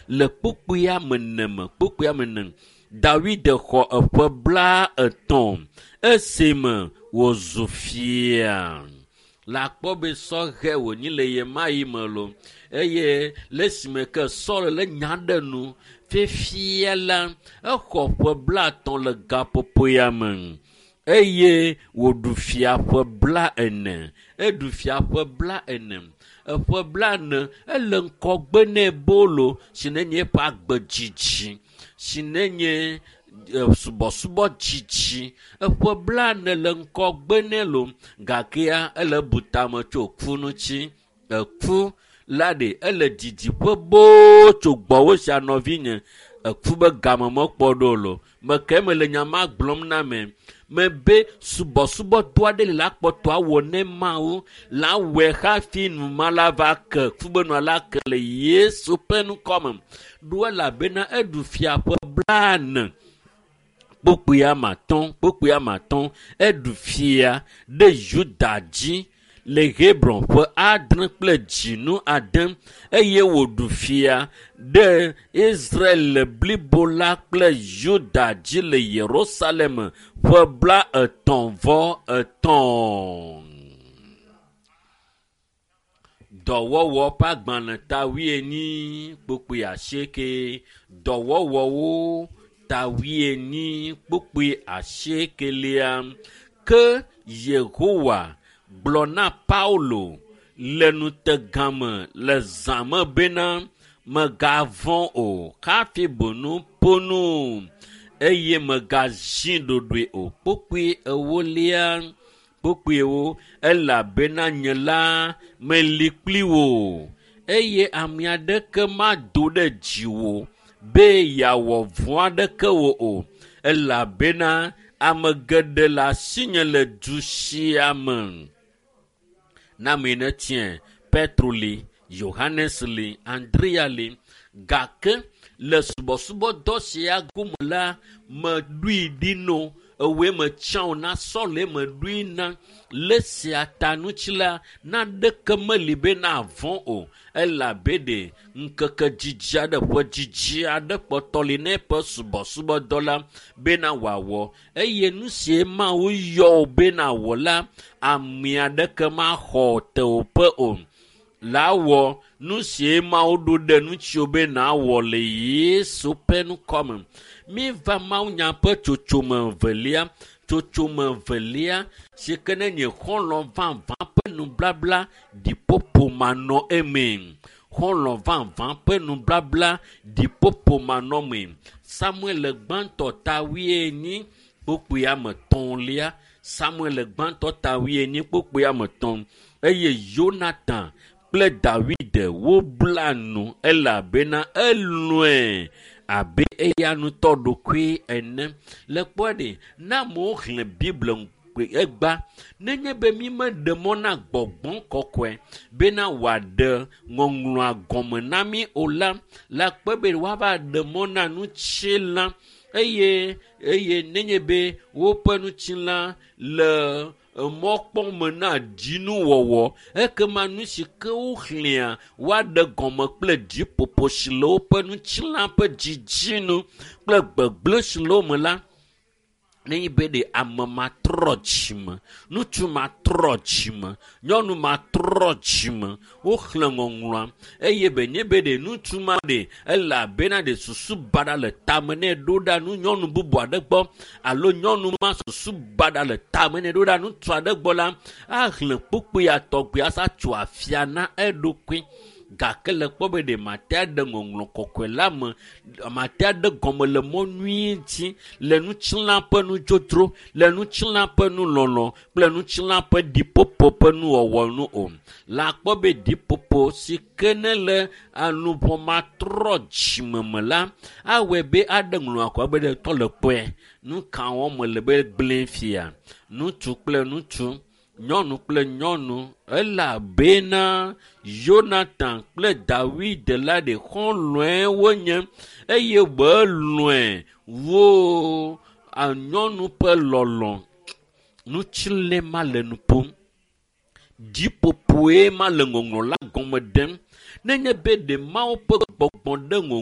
le kpukpuia me ne me kpukpuia me ne. Dawid xɔ eƒe 30 esime wòzu fia. Le akpɔ be sɔhɛ wònyi le ɣemaɣi me lo eye le esime ke Saul le nya ɖe nu fifia la exɔ ƒe 30 le gaƒoƒo ya me eye wòɖu fia ƒe 40. Eɖu fia ƒe 40. Eƒe 40 ele ŋkɔgbe nɛ bolo si nenye eƒe agbe dzidzi si nenye subɔsubɔ dzidzi. Eƒe 40 le ŋkɔgbe nɛ lo gakea ele bu tame tso ku ŋuti. Eku la ɖe ele didiƒe boo tso gbɔwò sia nɔvinye. Eku be game mekpɔ ɖo lo. Meke mele nya ma gblɔm na me. Mebe subɔsubɔdɔ aɖe li la kpɔtɔ awɔ ne Mawu la wɔe hafi numa la va ke ku be nua la ke le Yesu ƒe ŋkɔme. Ɖo elabena eɖu fia ƒe 40 kpukpui ame atɔ̃ kpukpui ame atɔ̃ eɖu fia ɖe Yuda dzi le Hebron ƒe 6 kple dzinu 6 eye wòɖu fia ɖe Israel blibo la kple Yuda dzi le Yerusalem ƒe 33. Dɔwɔwɔ ƒe agbalẽ ta 40 kpukpui 8. Dɔwɔwɔwo ta 40 kpukpui 8. Ke Yehowa gblɔ na Paulo le nutegame le zã me bena megavɔ̃ o hafi bonu ƒo nu eye megazi ɖoɖoe o. Kpukpui 4 kpukpuiwo elabena nye la meli kpli wò eye ame aɖeke mado ɖe dziwò be yeawɔ vɔ̃ aɖeke wò o elabena ame geɖe le asinye le du sia me. Na ame ne tiɛ Petro li, Yohanes li, Andrea li gake le subɔsubɔdɔ sia gome la meɖoe ɖi no ewoe metsã o na Saul meɖoe na le sia ta ŋuti la naɖeke meli be navɔ̃ o elabe ɖe ŋkeke dzidzi aɖe ƒe dzidzi aɖe kpɔtɔ li ne eƒe subɔsubɔdɔ la bena wòawɔ eye nu sie Mawu yɔ wò be nawɔ la ame aɖeke maxɔ tewòƒe o. La wɔ nu sie Mawu ɖo ɖe ŋutiwò be nawɔ le Yesu ƒe ŋkɔme. Míeva Mawunya ƒe tsotsome velia, tsotsome velia si ke ne nye xɔlɔ̃ vavã ƒe nublabla ɖiƒoƒo manɔ eme. Xɔlɔ̃ vavã ƒe nublabla ɖiƒoƒo manɔ eme. Samuel gbãtɔ ta 40 kpukpui ame etɔ̃lia. Samuel gbãtɔ ta 40 kpukpui ame etɔ̃ eye Yonatan kple Dawid wobla nu elabena elɔ̃e abe eya ŋutɔ ɖokui ene. Le kpɔe ɖe, ne amewo xlẽ Biblia egba nenye be mi meɖe mɔ na gbɔgbɔ kɔkɔe bena wòaɖe ŋɔŋlɔa gɔme na mi o la, la kpɔe be woava ɖe mɔ na ŋutilã eye eye nenye be woƒe ŋutilã le mɔkpɔme na dzinuwɔwɔ ekema nu si ke woxlẽa woaɖe gɔme kple dziƒoƒo si le woƒe ŋutilã ƒe dzidzinu kple gbegblẽ si le wo me la nenye be ɖe ame matrɔ dzime, ŋutsu matrɔ dzime, nyɔnu matrɔ dzime, woxlẽ ŋɔŋlɔa eye be nye be ɖe ŋutsu ma ɖe elabena ɖe susu baɖa le tame nɛ ɖo ɖa nu nyɔnu bubu aɖe gbɔ alo nyɔnu ma susu baɖa le tame nɛ ɖo ɖa ŋutsu aɖe gbɔ la axlẽ kpukpui atɔgbi asa tso afia na eɖokui. Gake le kpɔ be ɖe mate aɖe ŋɔŋlɔ kɔkɔe la me, mate aɖe gɔme le mɔ nyui dzi le ŋutilã ƒe nudzodzro, le ŋutilã ƒe nulɔlɔ kple ŋutilã ƒe ɖiƒoƒo ƒe nuwɔwɔ nu o. La kpɔ be ɖiƒoƒo si ke ne le aluʋɔ matrɔ dzime me la, awɔe be aɖe ŋlɔ akɔ be ɖe tɔ le kpɔe. Nu ka wɔm mele be gblẽ fia? Ŋutsu kple ŋutsu, nyɔnu kple nyɔnu elabena Yonatan kple Dawid la ɖe xɔlɔ̃e wonye eye welɔ̃e wo nyɔnu ƒe lɔlɔ̃. Ŋutilẽ ma le nu ƒom. Dziƒoƒoe ma le ŋɔŋlɔ la gɔme ɖem. Nenye be ɖe Mawu ƒe gbɔgbɔ ɖe ŋɔŋlɔ